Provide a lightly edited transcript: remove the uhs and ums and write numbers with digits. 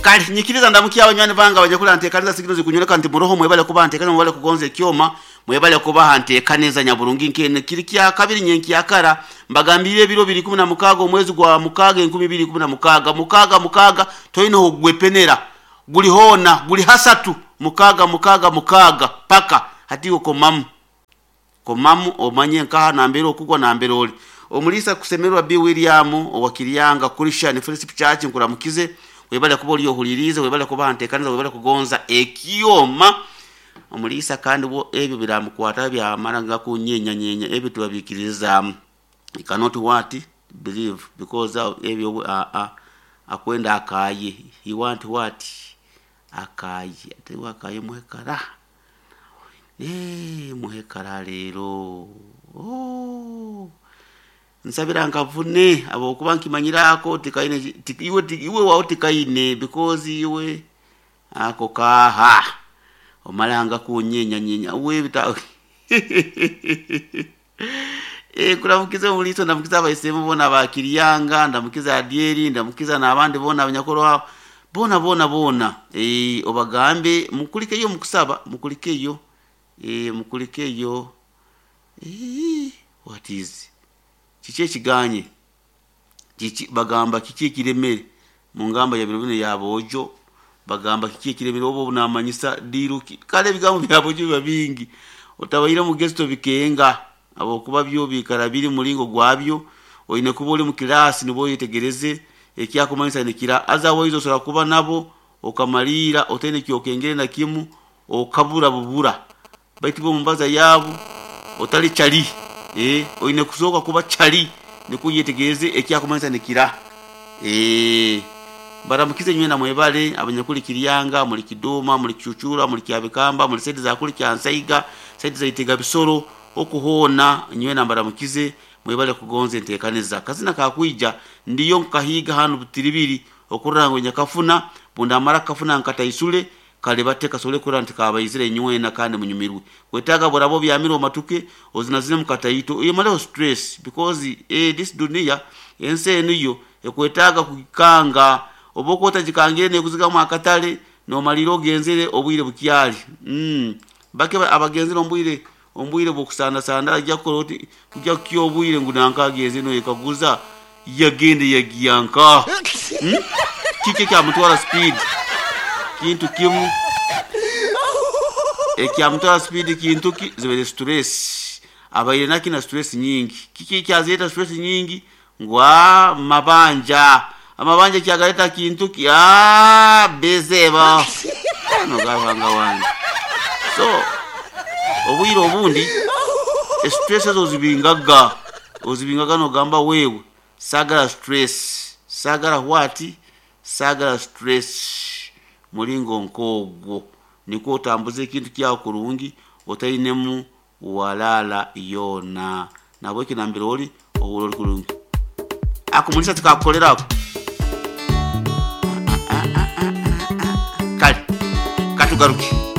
Kale nyikiriza ndamukye abanywani bange abanyakuli ntekaniza sigino zikunyoleka nti muroho. Mwebale kuba ntekaniza, mwebale kugonza ekyoma, mwebale kubaha ntekaniza nyaburungi nkene. Kiri kya kabiri nyenkyakara, mbagambire ebiro biri 16 omwezi gwa mukaaga 2016, mukaaga mukaaga toine ogwepenera, guli hoona guli hasatu mukaaga mukaaga mukaaga paka hati. Okomamu komamu omanye nkaha nambere okugwa nambere oli omulisa kusemerwa. B William owakiryanga Christian Fellowship Church, nkuramukize, webale kuba oli ohulirize, webale kuba ntekaniza, webale kugonza ekyoma omulisa. Kandi bo ebyo biramukwata byamara gakunyenyanyenya, ebyo tubabikiririzaamu. You cannot what believe because ebyo akwenda akaye, he want what akaye, ate akaye muhekara muhekara leero. Oh. Nsabira nkavune habwokuba nkimanyirako tikaine iwe, iwe wawe tikaine because iwe ako kaha omalanga kunyenyanyenya webita. Kuramukiza omuliso, ndamukiza abaisemu bona abakiryanga, ndamukiza Adieri, ndamukiza n'abandi bona abanyakorwa bona bona bona. Obagambe mukulikeyo mukusaba, mukulikeyo, mukulikeyo. What is kiki ekiganye kiki bagamba kiki ekiremere mu ngamba ya biro bino yaboojo bagamba kiki ekiremere oba obunamanyisa diruki. Kale ebigambo byabojo biba bingi, otabaire mugezi tobikenga habwokuba byo biikara biri mulingo gwabyo. Oine kuba ori mu kilaasi nibwo oyetegereze ekyakumanyisa nikira. Otherwise osobola kuba nabo okamaliira otaine kyokengere na kimu, okabura bubura, baitu bo mumbaza yaabo otali chali. Oine kusooka kuba chali nikwo oyetegereze ekyakumanyisa nikira. Mbaramukize nywena, mwebale abanyakuli Kiryanga, muli Kiduma, muli Kicucura, muli Kyabikamba, muli side za kuli Kyansaiga, side za Itega Bisoro, okuhoona nywena mbaramukize, mwebale kugonza entekaniza. Kazina kakwija ndiyo nkahiga hanu butiribiri okurora ngu nyakafuna bundamara kafuna nkataisule kale bate kasobole kurora nti kabaizire nywena kandi munyumirwe. Kwetaaga buraba obyamire omatuke ozinazine mukataito oyemaleho stress because this dunia ensi enu yo ekwetaaga kugikanga, oba okuba otagikangire nekuzigamu akatale nomalira ogenzere obwire bukyali. Bake abagenzere omu bwire bw'okusandasanda ajya kukora oti kujya kukya obwire ngu nanka agenze noyekaguza yagenda yagiya nkaha? Kiki ekyamutwara speed? Kintu kimu ekyamutwara speed, kintu ki? Zibaire stress abaire naki na stress nyingi. Kiki ekyazireta stress nyingi? Ngu mabanja, amabanja kyagaleta kintu ki? Bezeba noga wange. So obwire obundi stress ezo ozibingaga, ozibingaga nogamba wewe sagala stress, sagala what, sagala stress mulingo nk'ogwo nikwo otambuza ekintu kyawe kurungi otainemu walaala yoona. Nabweki nambere ori ohurra ori kurungi ako mulisa tikakukolera ako. Kale katugaruke.